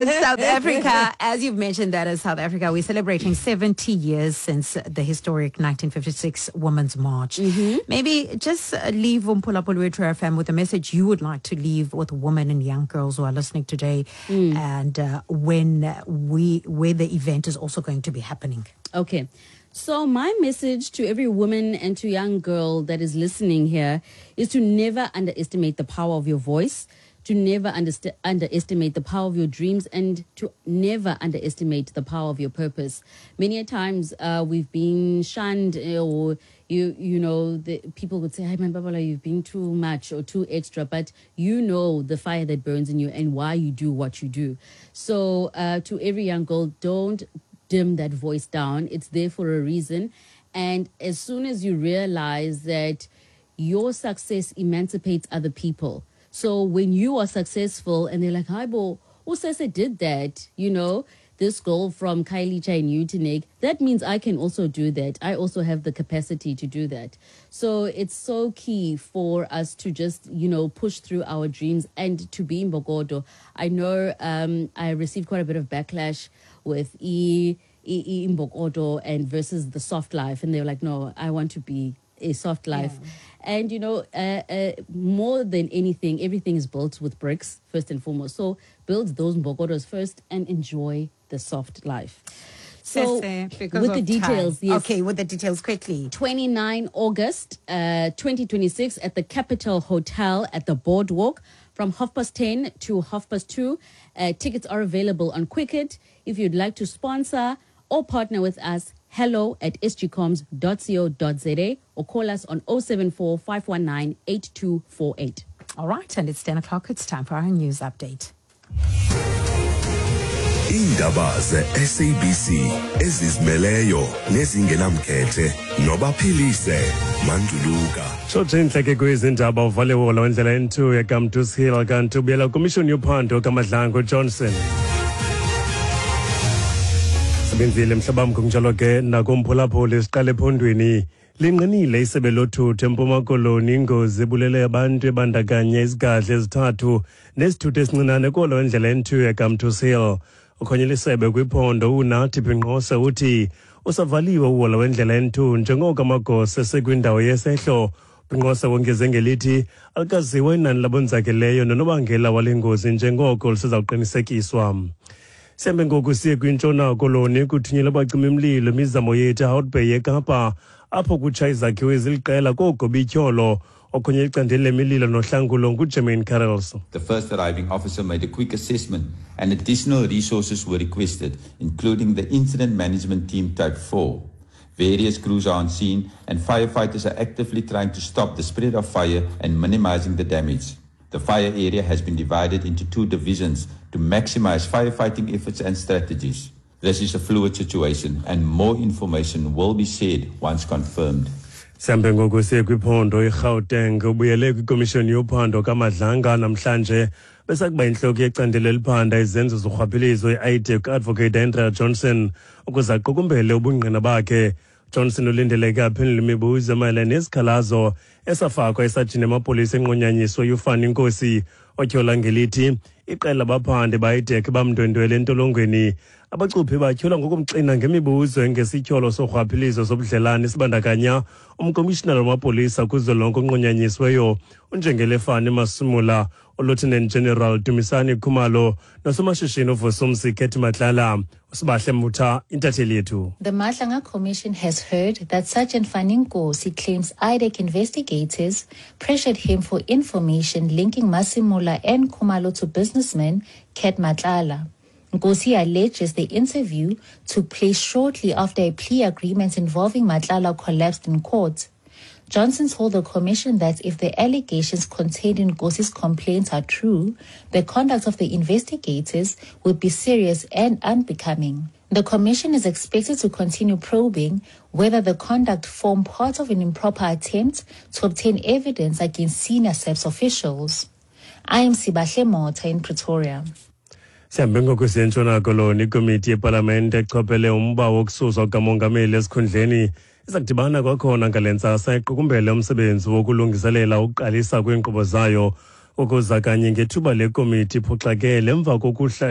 South Africa, as you've mentioned, that is South Africa, we're celebrating 70 years since the historic 1956 Women's March. Maybe just leave Umphulaphuli wethu FM with a message you would like to leave with women and young girls who are listening today, and where the event is also going to be happening. Okay. So my message to every woman and to young girl that is listening here is to never underestimate the power of your voice, to never underestimate the power of your dreams, and to never underestimate the power of your purpose. Many a times we've been shunned, or the people would say, hey man, Babalwa, you've been too much or too extra, but you know the fire that burns in you and why you do what you do. So to every young girl, don't dim that voice down. It's there for a reason. And as soon as you realize that your success emancipates other people. So when you are successful and they're like, hi, bo, Usese did that, this girl from Khayelitsha and Uitenhage, that means I can also do that. I also have the capacity to do that. So it's so key for us to just, push through our dreams and to be in Mbokodo. I know I received quite a bit of backlash with Imbokodo and versus the soft life. And they were like, no, I want to be a soft life. And, more than anything, everything is built with bricks, first and foremost. So build those Mbokodos first and enjoy the soft life. So Sese, because with the of time. details, yes. Okay, with the details quickly. 29 August, 2026 at the Capital Hotel at the Boardwalk from half past ten to half past two. Tickets are available on Quicket. If you'd like to sponsor or partner with us, hello at sgcoms.co.za or call us on 074, 519, 8248. All right, and it's 10 o'clock. It's time for our news update. Iindaba ze-SABC ezizimeleyo nezingenamkhethe nobaphilise Manduluka. Tshotshe intleke kwezi ndaba, uvale wola wendlela N2 yaKamtus Hill kanti ubuyela kwimishoni yophando kaMadlango Johnson. Sebenzile mhlabam, kunjalo ke nakumphulaphuli. Siqale ephondweni. Lingqinile isebe lothutho eMpuma Koloni ingozi ebulele abantu ebandakanya izigadla ezithathu nesithuthi esincinane kolo ndlela N2 yaKamtus Hill. Ukhonye isebe kwiphondo uNathi Binqose uthi usavaliwe uhola wendlela N2 njengoko amagosa esekwindawo yesehlo. Binqose wongeze ngelithi alikaziwa inani labonzakeleyo nonobangela wale ngozi njengoko lusezawuqinisekiswa. Sihambe ngoku siye kwiNtshona Koloni. Kuthunyelwe abacimi-mlilo imizamo yethu eHout Bay eKapa, apho kutsha izakhiwo eziliqela koogobityholo. Okhonye icandelo lemililo nohlangulo nguJermaine Carrols. The first arriving officer made a quick assessment and additional resources were requested, including the Incident Management Team Type 4. Various crews are on scene and firefighters are actively trying to stop the spread of fire and minimizing the damage. The fire area has been divided into 2 divisions to maximize firefighting efforts and strategies. This is a fluid situation and more information will be shared once confirmed. Sihambe ngoku siye kwiphondo iGauteng. Ubuyele kwikomishoni yophando kaMadlanga namhlanje besakuba intloko yecandelo eliphanda izenzo zorhwaphilizo i-IDAC Advocate Andrea Johnson ukuze aqukumbele ubungqina bakhe. Johnson ulindeleke aphendule imibuzo mayelana nesikhalazo esafakwa esajini emapolisa enqunyanyiswe uFani Nkosi, otyhola ngelithi iqela labaphandi ba-IDAC bamndwendwele entolongweni. Abacuphi batyholwa ngokumxina ngemibuzo engesityholo sorhwaphilizo sobudlelane sibandakanya umkomishinala wamapolisa kuzwelonke onqunyanyisiweyo uNjengele Fani Masemola, uLieutenant General Dumisani Khumalo nosomashishini uVusumuzi Cat Matlala. Usibahle Mutha, intatheli yethu. The Madlanga Commission has heard that Sergeant Fani Nkosi claims IDAC investigators pressured him for information linking Masemola and Khumalo to businessman Cat Matlala. Nkosi alleges the interview took place shortly after a plea agreement involving Matlala collapsed in court. Johnson told the commission that if the allegations contained in Nkosi's complaints are true, the conduct of the investigators would be serious and unbecoming. The commission is expected to continue probing whether the conduct formed part of an improper attempt to obtain evidence against senior SAPS officials. I am Sibahle Motha in Pretoria. Sihambe ngoku siye eNtshona Koloni. Ikomiti yepalamente echophele umba wokususwa kukamongameli esikhundleni iza kudibana kwakhona ngale ntsasa iqukumbele umsebenzi wokulungiselela ukuqalisa kweenkqubo zayo. Ukuza kanye ngethuba le komiti iphoxakele emva kokuhla